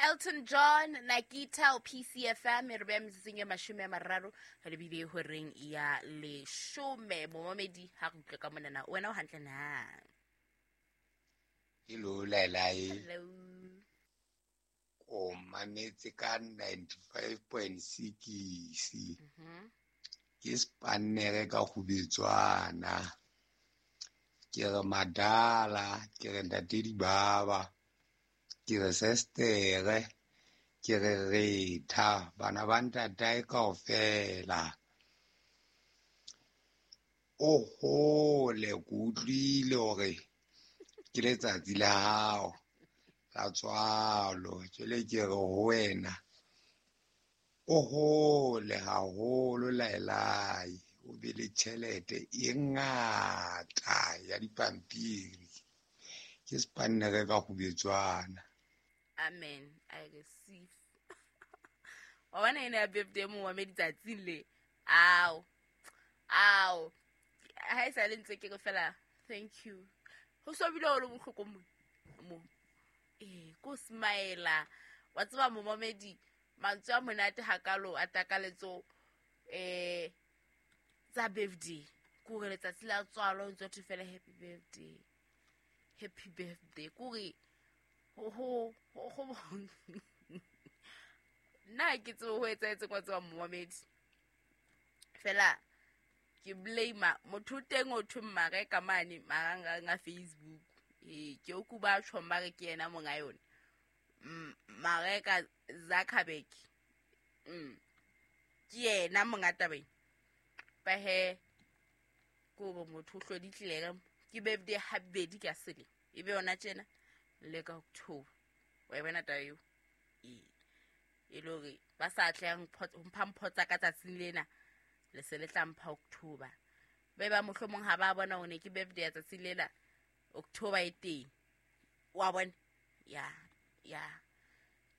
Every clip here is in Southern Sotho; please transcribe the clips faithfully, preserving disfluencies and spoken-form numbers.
Elton John Nakita o P C F M e re beya metsotsong e mashome a mararo re lebile horeng ya leshome. Momamedi ha re utlwe ka monana wena o hantle na? Hello Lailai. Hello. O mametse ka ninety-five point six. Mhm. Ke spannere ka kgubetswana. Ke re madala, ke re ntate dibaba, ke re sestere, ke re retha, bana ba ntatae kaofela. O hole ke utlwile hore ke letsatsi la hao la tswalo, jwale ke re ho wena o hole haholo Lailai, o be le tjhelete e ngata ya dipampiri. Ke spannere ka kgubetswana. Amen, I receive. Wa bona ena ya birthday mo wa meditsatsing le. Ao. Ao. Ha e sa le ntse ke re fela thank you. Ho so bile o le bohloko mo. Mo. Eh, ko smile. Wa tseba momamedi mantswe a monate hakalo a takaletso eh tsa birthday. Ko re letsatsi la tswalo ntse o fela happy birthday. Happy birthday. Ko re ho ho ho nna ke tsebe ho etsahetseng wa tseba momamedi. Fela ke blame motho teng o thwe Mareka mane marangrang a Facebook. Eh, ke o kuba tjho mare ke yena monga yona. Mareka Zuckerberg. Mm. Ke yena monga tabeng. Ba he ko bo motho o hloditlile ke birthday habedi ka sele. E be yona tjena le ka October. Wa e bona taba eo? Ee. E le hore ba sa tlang ho mpha mpho tsa ka tsatsing lena le se le tla mpha October. Ba ba mohlomong ha ba bona hore ke birthday ya tsatsing lena October e teng. Wa bona? Ya, ya.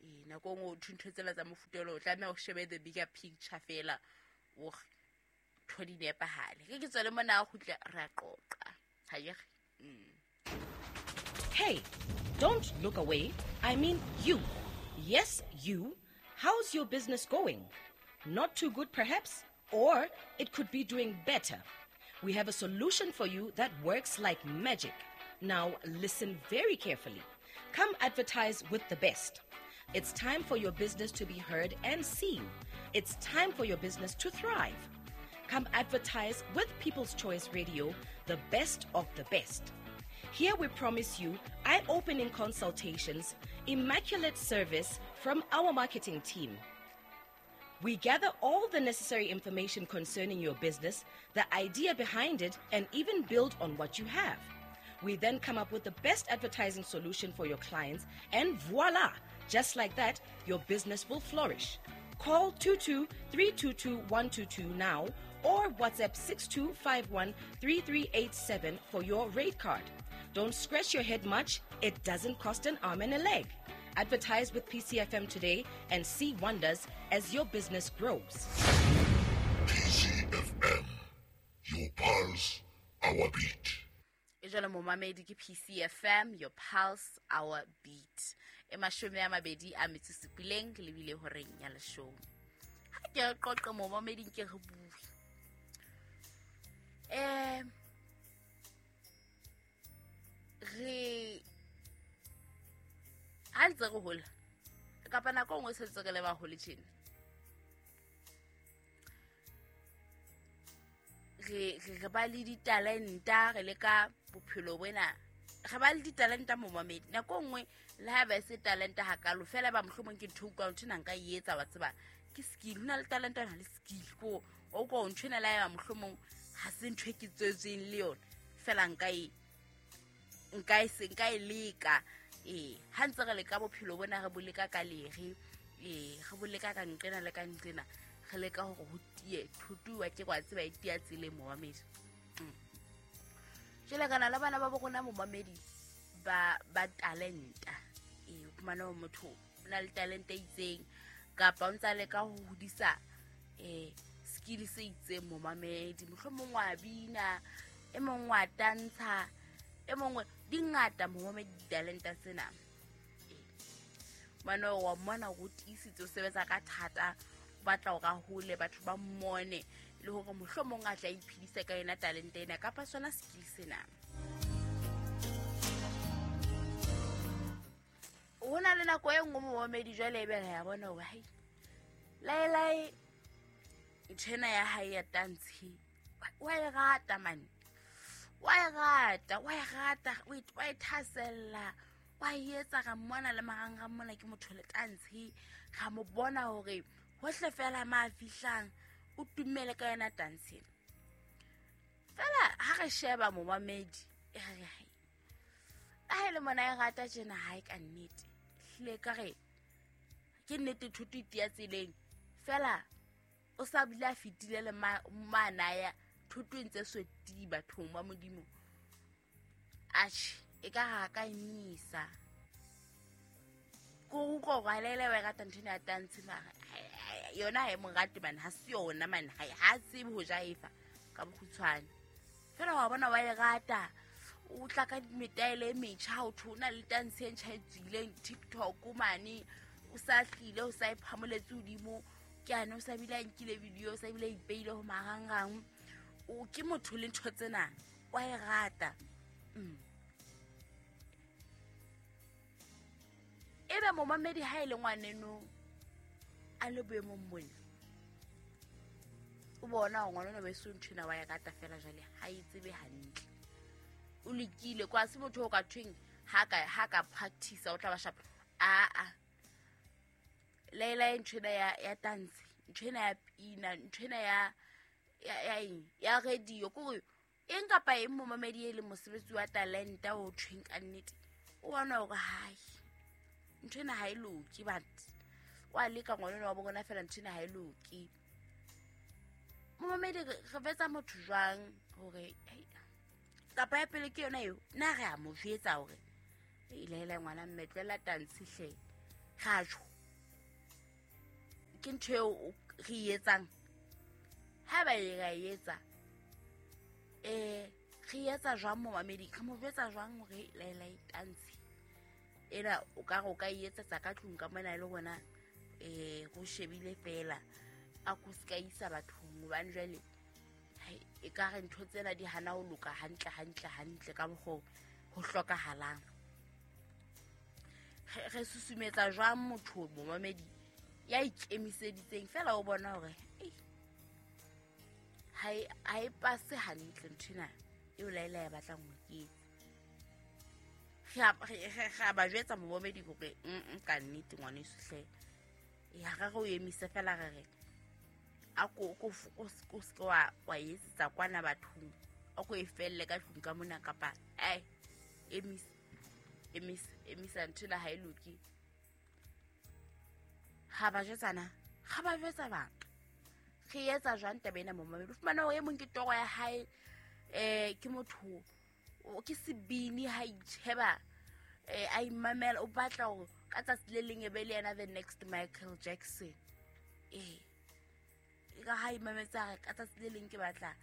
E nako nngwe o thwe ntho tsela tsa mofuta o tlameha o shebe the bigger picture fela o ntho di nepahale. Ke ke tswele mona a kgutla re a qoqa. Ha ke re? Mm. Hey, don't look away. I mean you. Yes, you. How's your business going? Not too good, perhaps? Or it could be doing better. We have a solution for you that works like magic. Now, listen very carefully. Come advertise with the best. It's time for your business to be heard and seen. It's time for your business to thrive. Come advertise with People's Choice Radio, the best of the best. Here we promise you eye-opening consultations, immaculate service from our marketing team. We gather all the necessary information concerning your business, the idea behind it, and even build on what you have. We then come up with the best advertising solution for your clients, and voila! Just like that, your business will flourish. Call two two three two two one two two now or WhatsApp six two five one three three eight seven for your rate card. Don't scratch your head much. It doesn't cost an arm and a leg. Advertise with P C F M today and see wonders as your business grows. P C F M, your pulse, our beat. E jwale momamedi ke P C F M, your pulse, our beat. E mashome a mabedi a metso supileng le bile horeng ya leshome. Ha ke re qoqe momamedi ke re bue. Eh, re ha ntse re hola kapa nako nngwe se ntse re le baholo tjena, re re ba le ditalenta, re leka bophelo bona, re ba le ditalenta momamedi. Nako nngwe le ha ba se talenta hakalo fela ba mohlomong ke ntho utlwa ntho ena nka e etsa wa tseba ke skill. Ho na le talenta, ho na le skill. Ko o utlwa ntho ena le ha eba mohlomong ha se ntho e ke tswetsweng le yona fela nka e nka e se nka e leka. Eh, ha ntse re leka bophelo bona re bo leka ka lere, eh, re bo leka ka nqena le ka nqena, re leka hore ho tie thutuwa ke kwa tseba e tia tseleng momamedi. Mm. Jwale kana la bana ba bo rona momamedi ba ba talenta. Eh, o fumana hore motho o na le talente e itseng kapa o ntsa leka ho hodisa eh skill se itseng momamedi. Mohlomong wa bina, e mong wa tantsha, e mongwe di ngata momamedi ditalenta tsena. Mane wa mmona o tiisitse o sebetsa ka thata, o batla hore a hole, batho ba mmone le hore mohlomong a tla iphedisa ka yona talente ena kapa sona skill sena. Ho na le nako e nngwe momamedi jwale ebe re ya bona hore hai Laelae ntho ena ya hae ya tantshe wa e rata mane, wa e rata, wa e rata, o e thasella, wa e etsa. Ra mmona le marangrang mona ke motho le tantshe, ra mo bona hore hohle fela ma fihlang o tumele ka yona tantshe. Fela ha re sheba momamedi e re hai ha ele mona e rata tjena hae ka nnete, hlile ka re ke nnete thuto e tia tseleng fela o sa bile a fetile le mana ya thuto e ntse soti bathong ba Modimo. Atjhe e ka ha ka emisa ko utlwa hore Laelae wa e rata ntho ena ya tantshe, mara yona ha e mo rate mane, ha se yona mane, ha tsebe ho jaefa ka bokgutshwane. Fela wa bona wa e rata, o tla ka metaele e metjha, o thwe o na le tantshe e ntjha e tswileng TikTok mane, o sa hlile o sa e phamoletse hodimo ke ane, o sa bile a nkile video, o sa bile a ipeile ho marangrang. O ke motho le ntho tsena wa e rata. Mm. Ebe momamedi ha e le ngwaneno a le boemong bona, o bona hore ngwaneno beso ntho ena wa e rata fela jwale ha e tsebe hantle, o lekile kwa se motho o ka thweng ha ka ha ka practice o tla ba sharp. A a Laelae ntho ena ya ya tantshe, ntho ena ya pina, ntho ena ya ya ya eng ya radio, kore eng kapa eng momamedi e leng mosebetsi wa talenta o thweng ka nnete, o bona hore hai ntho ena ha e loke, but wa leka ngwaneno wa bona fela ntho ena ha e loke. Momamedi re vetsa motho jwang hore kapa ya pele ke yona eo na re a mo jwetsa hore Laelae ngwana mme tlohela tantshe hle, ra tjho ke ntho eo re e etsang. Ha ba e ra e etsa eh re etsa jwang momamedi, re mo jwetsa jwang hore Laelae tantshe ena o ka re o ka e etsetsa ka tlung ka mona le rona eh go shebile fela a ko ska isa bathong, hobane jwale e ka re ntho tsena di hana ho loka hantle hantle hantle ka mokgo ho hlokahalang. Re susumetsa jwang motho momamedi ya ikemiseditseng fela o bona hore ha e ha e pase hantle ntho ena eo Laelae ya batlang ho e etsa. Re a ba jwetsa momamedi hore ka nnete ngwaneso hle ya re re o emise fela re re a ko ko ko se wa wa etsetsa kwana bathong, a ko e felle ka tlung ka mona kapa ai emisa emisa emisa ntho ena ha e loke. Ha ba jwetsana, ha ba jwetsa bang re etsa jwang taba ena momamedi? O fumana hore e mong ke toro ya hae, eh ke motho ke sebini ha itjheba eh a imamela, o batla hore ka tsatsi le leng e be le yena the next Michael Jackson. Eh e ka ha imametsa ka tsatsi le leng ke batla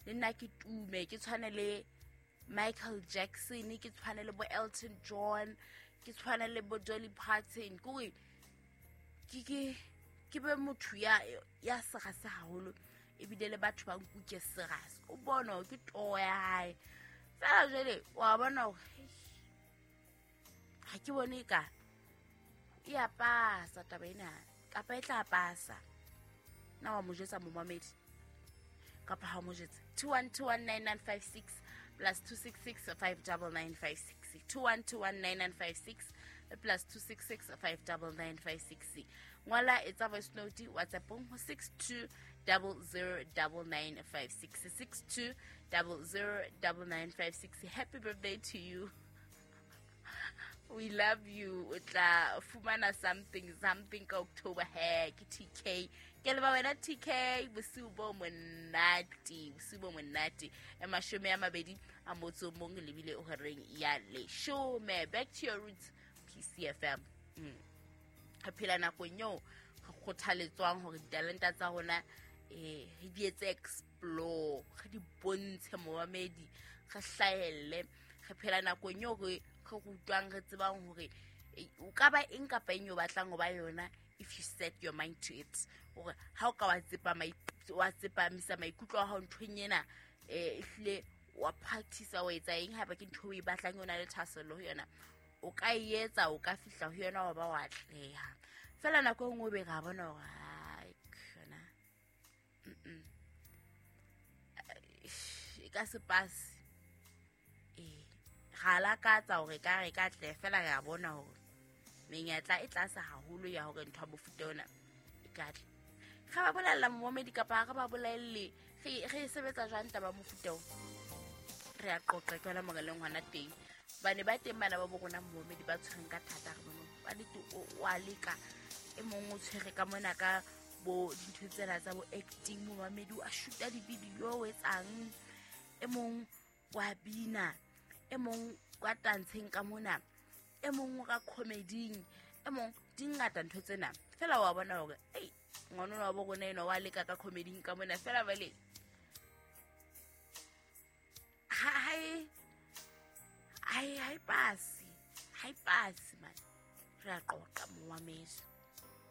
le nna ke tume, ke tshwane le Michael Jackson, ke tshwane le bo Elton John, ke tshwane le bo Dolly Parton, ke ke ke ke be motho ya ya serase haholo ebile le batho ba nkuke serase. O bona ke toro ya hae fela jwale wa bona hore ha ke bone ka e a pasa taba ena kapa e tla pasa. Na wa mo jwetsa momamedi kapa ha mo jwetse? Two one two one nine nine five six plus two six six five double nine five six, two one two one nine nine five six plus two six six five double nine five six. Ngwala etsa voice note WhatsApp ho six two double zero double nine five six, six two double zero double nine five six. Happy birthday to you. We love you. O tla fumana something something ka October he ke T K. Ke leba wena T K, bosiu bo monate, bosiu bo monate. E mashome a mabedi a motso mong lebile o horeng ya leshome. Back to your roots, P C F M. Mm. Re phela nakong eo re kgothaletswang hore ditalenta tsa rona eh re di etse explore, re di bontshe momamedi, re hlahelle. Re phela nakong eo re re rutwang, re tsebang hore O ka ba eng kapa eng o batlang ho ba yona if you set your mind to it. Hore ha o ka wa tsepama wa tsepamisa maikutlo a hao nthong ena, eh ehlile wa practice wa etsa eng haeba ke ntho o e batlang o na le thahasello ho yona, o ka e etsa, o ka fihla ho yona wa ba wa atleha. Fela nako e nngwe be ra bona hore hai yona mm e ka se passe. Eh ra lakatsa hore ka re ka atleha, fela re a bona hore menyetla e tlase haholo ya hore ntho ya mofuta ona e ka atleha. Re ba bolella momamedi kapa re ba bolelle re re sebetsa jwang taba mofuta o? Re a qoqa ke hona mo re leng hona teng. Bane ba teng bana ba bo rona momamedi ba tshwereng ka thata, re bone ba le o a leka, e mong o tshwere ka mona ka bo dintho tsena tsa bo acting, momamedi o a shoota di-video o etsang, e mong wa bina, e mong wa tantsheng ka mona, e mong o ka comedy-ing, e mong di ngata ntho tsena. Fela wa bona hore ei ngwana wa bo rona enwa wa leka ka comedy-ing ka mona, fela bale ha ha e ha e passe, ha e passe man. Re a qoqa momamedi.